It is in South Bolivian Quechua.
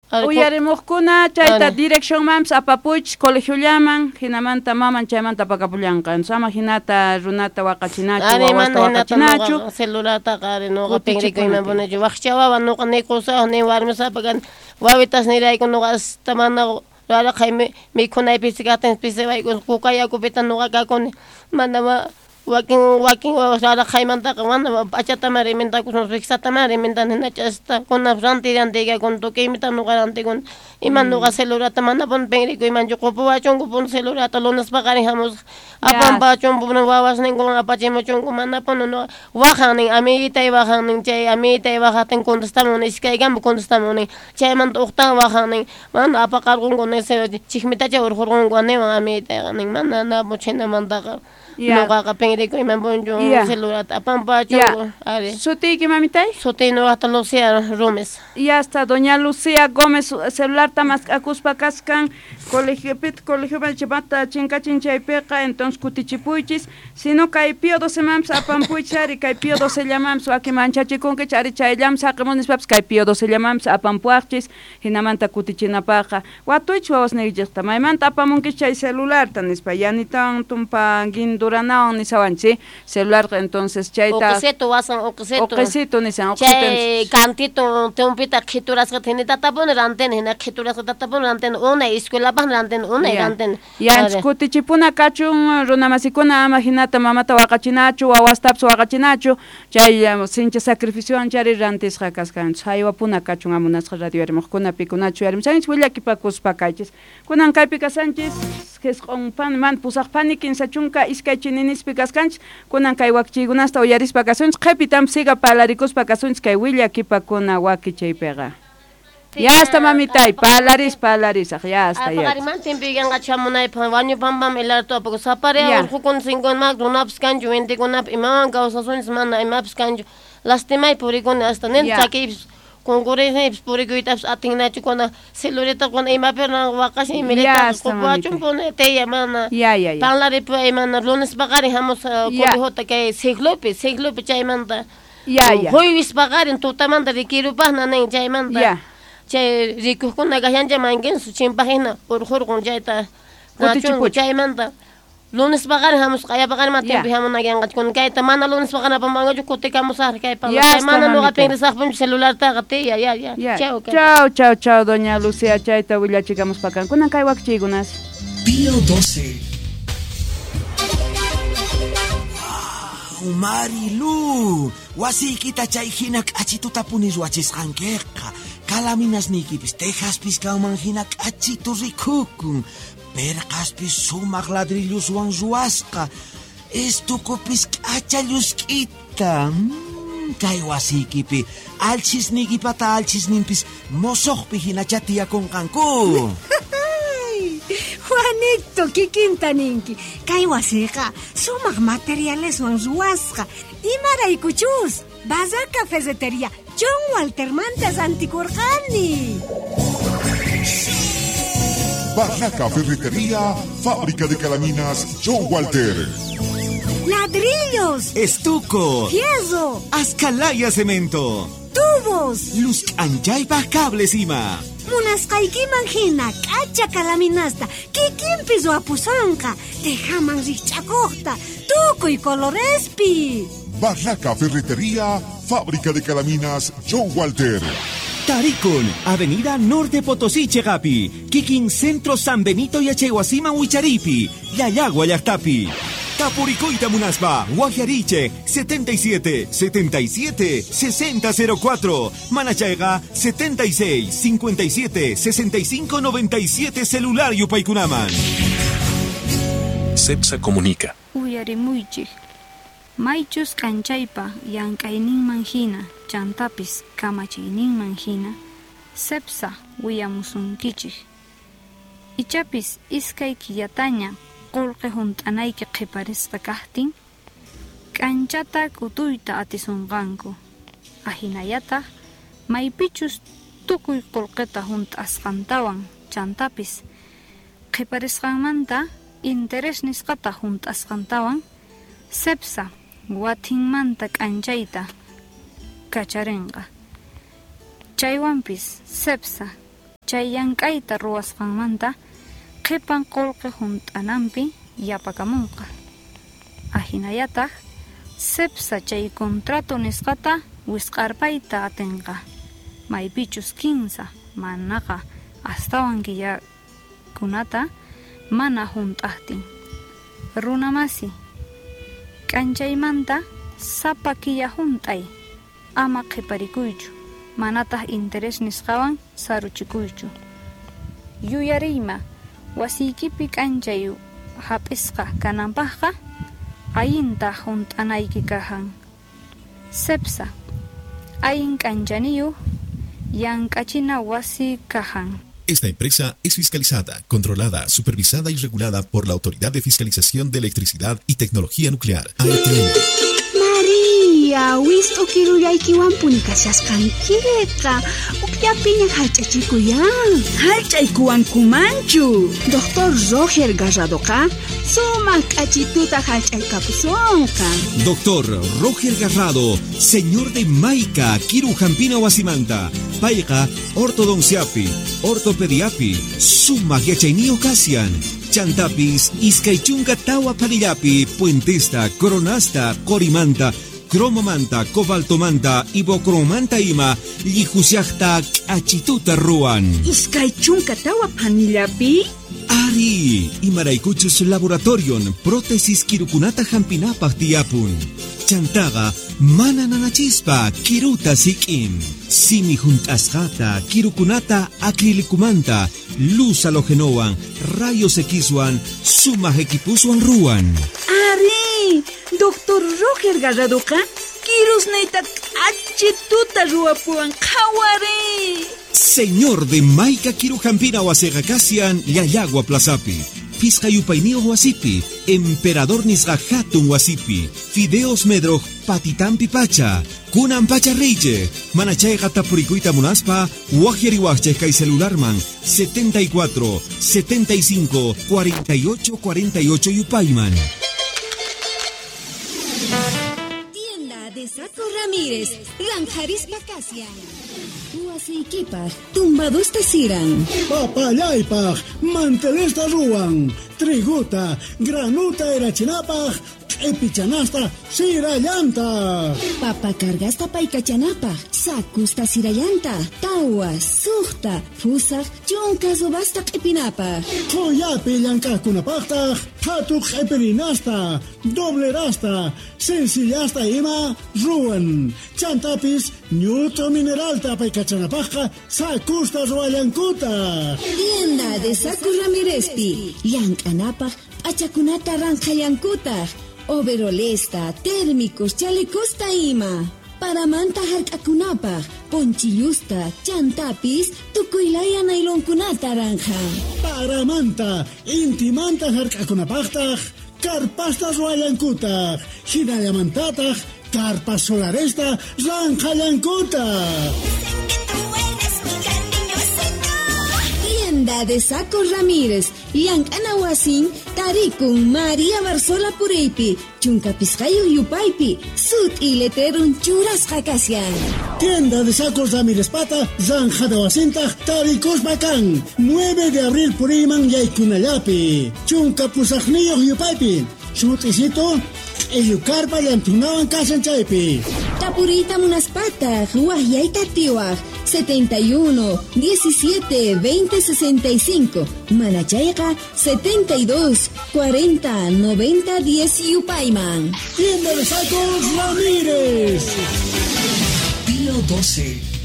Uyarimujkuna chayta direccionmanpis apapuychis colegiollaman, hinamanta maman chaymanta apakapullanqa. Entonces ama hinata runata waqachinachu, wawasta waqachinachu. Celulartaqa ari nuqa pinrikuyman punichu. Waqcha wawa nuqa ni qusayuq ni warmisapa kani. Wawitas nirayku nuqa hasta mana raraqay mikhunay pisi kajtin pisiwayku kuka yakupita nuqa kakuni. Mana wakin wakin wawas raraqaymantaqa mana p'achataman rimentakusun riksataman rimentani hinachasta kunanpis rantiy rantiykakuni tukuymita nuqa rantikuni. Ima nuqa celularta manapuni pinrikuymanchu qupuwachunku celularta lunes paqarin hamusaq apanpachunku wawasninkuwan apachimuchunku manapuni nuqa waqan nin amiguitay waqan nin chay amiguitay waqajtin contestamun iskaykama contestamun nin chaymanta uqtawan waqan nin mana apaqarqunku nin chikmitacha urqurqunku niwan amiguitayqa nin mana chhinamantaqa nuqaqa pinrikuyman punchu celularta apanpachunku ari. Sutiyki mamitay? Sutiy nuqaqta Lucía Gómez. Ya está, doña Lucía Gómez celularta mask'akuspa kaskan colegiopita colegiopi chimata chinkachin chaypiqa, entonces kutichipuychis, sino kay Pío 12 manpis apanpuychis ari, kay Pío 12 llamanpis wakin manchachikunkichis ari chayllaman saqimun nispapis kay Pío 12 llamanpis apanpuwaqchis hinamanta kutichinapaqqa. Watuychis wawasniykichikta maymanta apamunkichis chay celularta nispa yanitawan tumpa guinduranawan nisawanchis celularqa, entonces chayta uqisito wasan uqisito uqisito nisan chay kantito tumpita qhiturasqata hinatatapuni rantini hina qhiturasqatatapuni rantini unay escuelapaqni rantini unay rantini. Ya kutichipuna kachun runamasikuna ama hinata mamata waqachinachu wawastapis waqachinachu chay sinchi sacrificiowan chari rantisqa kasqanchis haywapuna kachun amunasqa radio yarimuqkuna pikunachu yarimusanchis willakipakuspa kaychis. Kunan kaypi kasanchis qisq'un pan pusaq pani 32 chininispi kaskanchis kunan kay wakichiykunasta uyarispa kasunchis qhipitam siga palarikuspa kasunchis kay willakipakuna wakichaypiqa. Ya está mamitay, palaris, palarisaq, ya está ya. Paqariman timpiyanqa chamunaypaq wañupampam ilartu apaku sapariya urqukun sinkunmaq runapis kanchu wintikunapis imawan kawsasunchis mana imapis kanchu lastimay purikuni hasta nin chakiypis kunkurinipis purikuytapis atinnachu kuna celularta kuna imapi waqashin imirita qupuwachumpuni tiya mana parlaripuway mana lunes paqarin hamusaq colegioта kay siglopi siglopi chaymanta jueves paqarin tutamanta rikirupaqna nin chaymanta chay rikuqkuna kashancha mankinsu chimpaq hina urqurqun chayta nachunku chaymanta lunes paqarin hamusaq q'aya paqarin mana timpi hamunakanqachu kuna kayta mana lunes paqarin apamanqachu kutikamusaqri kay mana nuqa pinrisaqpunchu celulartaqa tiya ya ya chau chau chau chau doña Lucía chayta willachikamuspa kan kunan kay wakichiykunas. Pío 12. Marilu, wasiykita chay hina k'achitutapuni ruwachisqankiqa. Kalaminasniykipis tejaspis kanman hina k'achitu rikukun. Perqaspis sumaq ladrilluswan ruwasqa. Estukupis k'acha llusk'ita. Kay wasiykipi alchisniykipata alchisninpis mosoqpi hinacha tiyakunqanku. Juanito, kikinta ninki. Kay wasiqa sumaq materialeswan ruwasqa. Imaraykuchus Barraca Ferretería John Waltermanta rantikurqani. Barraca Ferretería, fábrica de calaminas John Walter. Ladrillos, estuco, fierro, ascalaya cemento, tubos, luz anchaypa cables ima. Munasqaykiman hina k'acha kalaminasta kikinpis ruwapusanqa tejaman rikch'akuqta tukuy colorespi. Barraca Ferretería, fábrica de calaminas John Walter. Taricon, Avenida Norte Potosí, Chegapi, Kikin Centro San Benito y Achehuasima Huicharipi, Yayagua Yactapi. Tapuricoita Munaspa, Guajariche, 77 77 6004, Manachaiga, 76 57 65 97 celular Yupaykunaman. Cepsa comunica. Uyarimuychik. Maychus k'anchaypa llank'ayninman hina chantapis kamachiyninman hina Cepsa willamusunkichik. Ichapis iskay killataña qullqi hunt'anayki qhiparisqa kaqtin k'anchata k'utuyta atisunqanku. Ahinallataq maypichus tukuy qullqita hunt'asqantawan chantapis qhiparisqanmanta interés nisqata hunt'asqantawan Cepsa watinmanta k'anchayta kacharinqa. Chaywanpis Cepsa Chay llank'ayta ruwasqanmanta qhipan qullqi hunt'ananpi yapakamunqa. Ahinallataq CEPSA chay contrato nisqata wisq'arpayta atinqa, maypichus 15 manaqa astawan killakunata mana hunt'aqtin. Runamasi, k'anchaymanta sapa killa hunt'ay, ama qhiparikuychu, manataq interés nisqawan saruchikuychu. Yuyariyma, wasiykipi k'anchay hap'isqa kananpaqqa allinta hunt'anayki kajan. CEPSA, allin k'anchaniyuq llank'achina wasi kajan. Esta empresa es fiscalizada, controlada, supervisada y regulada por la Autoridad de Fiscalización de Electricidad y Tecnología Nuclear, AETN. Maria, wist'u kirullaykiwanpuni kashasqankiqa. Ukllapiña hallch'achikuyan. Hallch'aykuwankumanchu. Doctor Roger Garradoqa sumaq k'achituta hallch'aykapusonqa. Doctor Roger Garrado, señor de Maica, Kiru Jampina Wasimanta, Payqa, ortodonciapi, ortopediapi, sumaq yachayniyuq kasian. Chantapis, iskay chunka tawa phanillapi, puentesta, coronasta, qorimanta, cromomanta, cobaltomanta, ibocromanta ima, llijusiaqta k'achituta ruwan. Iskay chunka tawa phanillapi? Ari, imaraykuchus laboratorion prótesis kirukunata hampinapaq tiyapun. Chantaqa mana nanachispa kiruta sik'in. Simi hunt'asqata kirukunata acrilicumanta, luz halogenowan, rayos Xwan, sumaq equipuswan ruwan. Ari, Doctor Roger Garradoqa kirusniyta k'achituta ruwapuwan qhawari. Señor de Maica Kirujampina wasiqa kasian Llallagua Plazapi, Pisqa yupayniyuq wasipi, Emperador nisqa hatun wasipi, Fideos Medroj patitampi pacha, kunan pacha riychej, mana chayqa tapurikuyta munaspa, waqyariwaqchej kay celularman 74 75 48 48 yupayman. Tienda de Saco Ramírez, Ranjarispa Kasian. Wasiykipaq tumbadusta siran. Papallaypaq mantelesta ruwan, triguta, granuta erachinapaq, q'ipichanasta sirallanta. Papa cargasta paykachanapaq, sakusta sirallanta, tawa, suqta, fusaq, chunka subasta q'ipinapaq. Qhuyapi llank'aqkunapaqtaq, phatu q'ipirinasta, doblerasta, sencillasta ima ruwan. Chantapis ñut'u mineralta paykachanapaqqa sakusta ruwallankutaq. Tienda de Saco Ramírezpi, llank'anapaq p'achakunata ranqhallankutaq. Overolesta, térmicos, chalecosta ima. Paramanta hark'akunapaq, ponchillusta, chantapis, tukuylaya nailonkunata ranja. Paramanta, intimanta hark'akunapaqtaq, karpasta ruwallankutaq, hinallamantataq, karpas solaresta ranqhallankutaq. Tienda de Saco Ramírez, llank'ana wasin, tarikun María Barzola Puriypi, chunka pisqayuq yupaypi, sut'i letrerun churasqa kashan. Tienda de Sacos Ramírez pata, ranjada wasintaq, tarikuspa kan, 9 de abril puriyman yaykunallapi, chunka pusaqniyuq yupaypi, sut'isito, q'illukarpa llantunawan kashan chaypi. Tapuriyta munaspataq, waqyayta atiwaq, 71 17 20 65, manachayqa 72 40 90 10 yupayman. Tienda de Sacos Ramírez. Pío 12.